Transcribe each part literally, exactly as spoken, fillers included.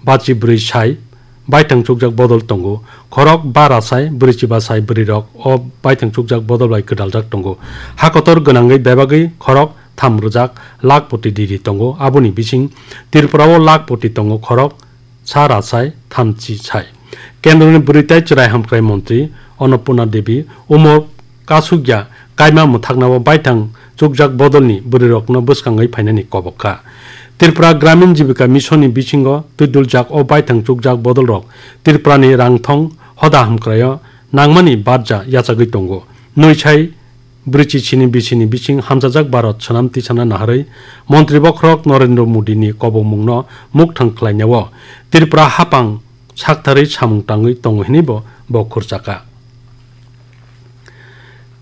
bachi bwrwi sai baithang chukjak bodol tongo. Khorok bara sai bwrwichiba sai bwrwirok o baithang chukjak bodol bai gwdaljak tongo. Hakotor gwnangwi bebagwi khorok tham rwjak lakh poti diri tongo. Aboni bising Tripura o lakh poti tongo khorok sa ra sai thamchi sai. Kendroni bwrwi tei chwrai hamkrai montri Annapurna Devi umor kasukya kaima mwthaknao baithang chukjak bodolni bwrwirokno bwskangwi phainani kobok kha. Tripura Gramin Jibika Mission ni bisingo twiduljak o baithang chukjak bodolrok Tripurani rangthong hoda hamkraio nangmani barja yachagwi tongo. Nwi sai bwrwichi sini bisini bising hamjajak Bharat swnam tisana naharwi Montri Bokhorok Narendra Modi ni kobokmungno mukthang khlainao Tripura hapang saktharwi samung tangwi tongo hinwi bo, bo khurchakha.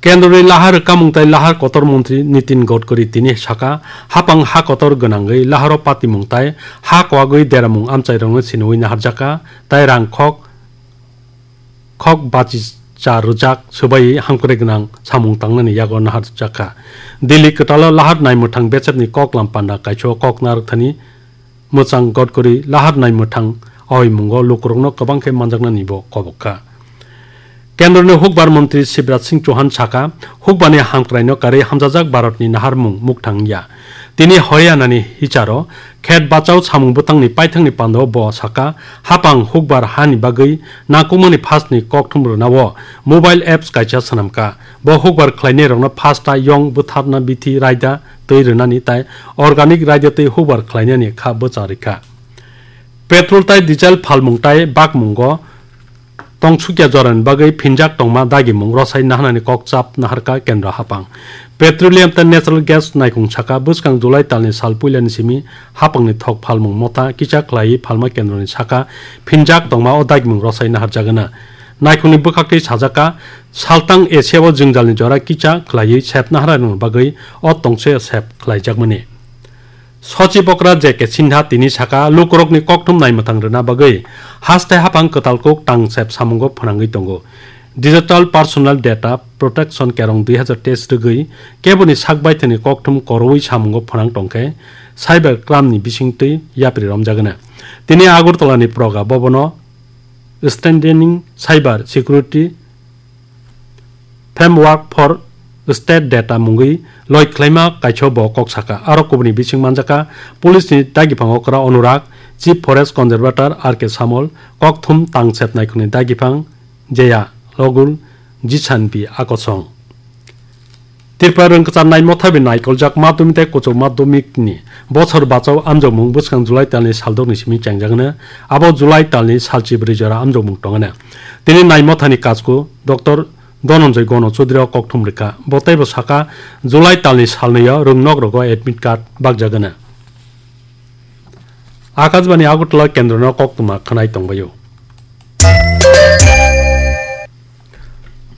Kendroni lahar rwkamung tei lahar kotor montri Nitin Gadkari tini saka, hapang ha kotor gwnangwi laharo patimung tei ha kwagwi deramung amchairokno siniwi naharjakha tei rang khok khok bachi cha rwjak swbaiwi hamkrai gwnang samung tangnani yago naharjakha. Delhi kwtalo lahar naimwthang bechepni koklam panda kaisio kok narwkthani mwchang Gadkari lahar naimwthang aoimungo lukurokno kwbang khe manjaknani bo kobok kha. Kendroni hukbar montri Shivraj Singh Chauhan saka, hukbani hamkraino karwi hamjajak Bharatni naharmung mukthang ya. Tini Haryanani hicharo khet bachao samung bwtangni paithakni pandao bo saka, hapang hukbar hani bagwi nangkukmani phasni kokthum rwnao mobile apps kaisa swnamkha. Bo hukbar khlainairokno phasta yong bwtharna bithi raida twi rwnani tai organic raida twi hukbar khlainani kha bwcha rikha. Petrol tai diesel phalmung tai bakmungo tongsukya jorani bagwi phinjak tongma dagimung rwsai naharnani kok chap naharkha kendro hapang. Petroleum tei natural gas naikung saka bwskang July talni sal puilani simi hapangni thok phalmung motha kisa khlaiwi phalma kendroni saka phinjak tongma o dagimung rwsai naharjagana. Naikungni bwkhaktwi sajakha, saltang Asia o jwngjalni jora kisa khlaiwi sep naharnani bagwi o tongse sep khlaijakmani. Sochib okra J K Sinha tini saka, lukurokni kokthum naimwthang rwna bagwi haste haphang kwtal kuk tangsep samungo phwnangwi tongo. Digital Personal Data Protection Kerong dui hazar teis rwgwi keboni sak baithani kokthum korowi samungo phwnang tongkhe cyber crime ni bisingtwi yapri romjagana. Tini Agartala ni proga bobono Strengthening Cyber Security Framework for State Data mungwi loi khlaima kaisio bo kok saka. Aro kubuni bising manjaka police ni dagiphango kwra Anurag, Chief Forest Conservator R K Samol, kokthum tangsep naikhungni dagiphango Jeya Logul, Jisan B Akosong. Tripura rwngkwchar naimothabi naikoljak madhyamik tei kuchuk madhyamik ni bosor bachao amjokmung bwskang July talni saldokni simi chengjagano. Abo July talni salchi bwrwi jora amjokmung tongano. Tini naimothani kachku Doctor Dhananjay Gano Chaudhary o kokthum rwkha. Bo teibo saka, July talni salnwi o rwngnok rogo admit card bakjagano. Akashbani Agartala kendrono koktwma khwnai tongbaio.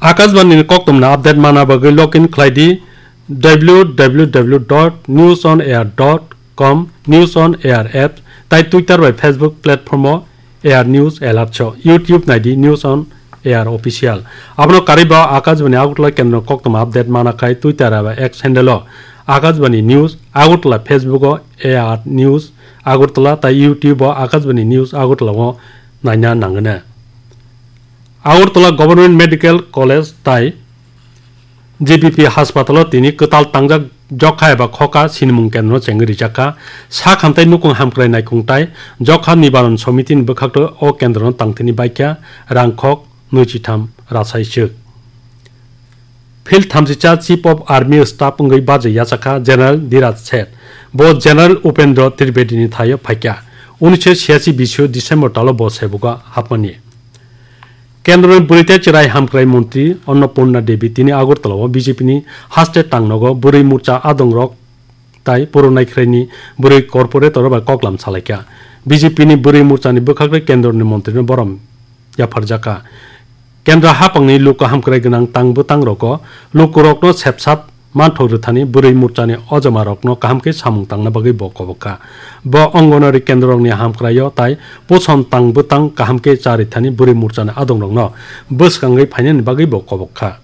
Akashbani ni koktwmani update mana bagwi login khlai di w w w dot news on air dot com, News on Air app, tai Twitter bai Facebook platform o Air News Alert so. YouTube nai di News on Air Official. Abono karwi bo Akashbani Agartala kendro koktwma update mana khai Twitter eba X handle o Akashbani News Agartala, Facebook o Air News Agartala tai YouTube o Akashbani News Agartala o naina nangwna. Agartala Government Medical College tai G B P haspatalo tini kwtal tangjak jokha eba khoka sinimung kendro chengwi rijakha. Sak hamtai nukung hamkrai naikung tai jokha nibaron somitini bwkhakto o kendrono tangthini baikha rangkhok nwichitham rasai swk. Field thamsisa Chief of Army Staff wngwi baje yachakha General Dhiraj Seth. Bo General Upendra Tripatini thaio phaikha. Unisho siyachi bisio December talo bo sebugo hapmani. Kendroni bwrwi tei chwrai hamkrai montri Annapurna Devi tini Agartala o B J P ni haste tangnogo bwrwi morcha adongrok tai puro naikhraini bwrwi corporator bai koklam salaikha. B J P ni bwrwi morchani bwkhakre kendroni montrino borom yapharjakha. Kendra hapangni luku hamkrai gwnang tang bwtang rogo lukurokno sepsap manthok rwthani bwrwi morchani ojomarokno kaham khe samung tangna bagwi bo kobok kha. Bo Anganwadi kendrorokni hamkraio tai poson tang bwtang kaham khe cha rithani bwrwi morchani adongrokno bwskangwi phainani bagwi bo kobok kha.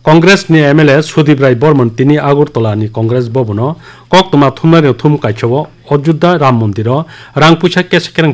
Congress ni M L A Sudip Rai Borman tini Agartala ni Congress Bhavan o koktwma thumnai rok thum kaisao Ayodhya Ram Mondir o rang puisa kesa kereng